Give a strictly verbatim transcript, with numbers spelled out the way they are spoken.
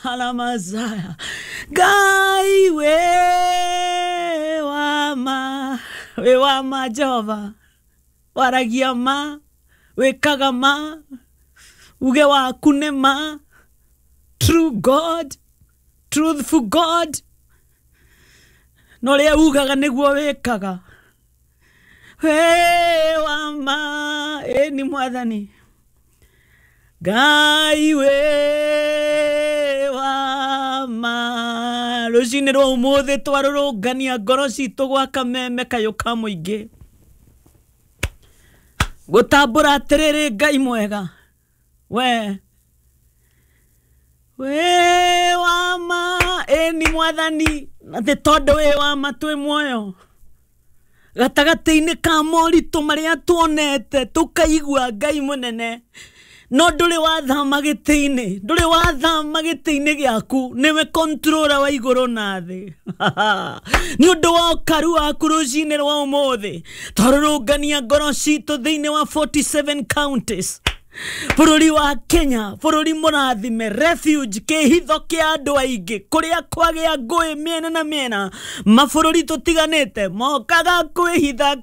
Alamazaya. Ngai wĩ wa ma, wĩ wa ma Jehova, waragia ma, wĩkaga ma, uge waku nĩ ma. True God, truthful God, na ũrĩa ugaga nĩguo wĩkaga. Wĩ wa ma, ĩni Mwathani. Ngai wĩ wa ma. Rũcinĩ rwa ũmũthĩ twarũrũngania ngoro citũ gwa kameme kayũ ka mũingĩ, gũtambũra atĩrĩrĩ, Ngai mwega, we wĩ wa ma. Ĩni Mwathani, na nĩ tondũ wĩ wa ma twĩ muoyo gatagatĩ-inĩ ka moritũ marĩa tuonete tũkaigua. Ngai mũnene, no ndũrĩ wathama gĩtĩ-inĩ, ndũrĩ wathama gĩtĩ-inĩ gĩaku, nĩwe controller wa igũrũ na thĩ. Nĩ ũndũ wa ũkaru waku, rũcinĩ rwa ũmũthĩ twarũrũngania ngoro citũ thĩinĩ wa forty-seven counties bũrũri wa Kenya, bũrũri mũrathime, refuge, kĩhitho kĩa andũ aingĩ kũrĩa kwagĩa ngũĩ mĩena na mĩena, mabũrũri tũtiganĩte mokaga kwĩhitha.